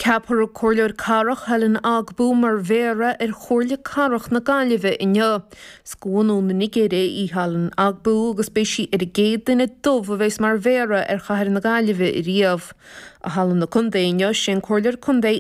Ceapfar an Comhairleoir Cathrach Helen Ogbu mar Mhéara ar Chomhairle Cathrach na Gaillimhe inniu. Is de bhunú na Nigéire í Helen Ogbu agus beidh sí ar an gcéad duine dubh a bheas mar Mhéara ar chathair na Gaillimhe riamh. I Halla na Contae inniu, sé an Comhairleoir Contae.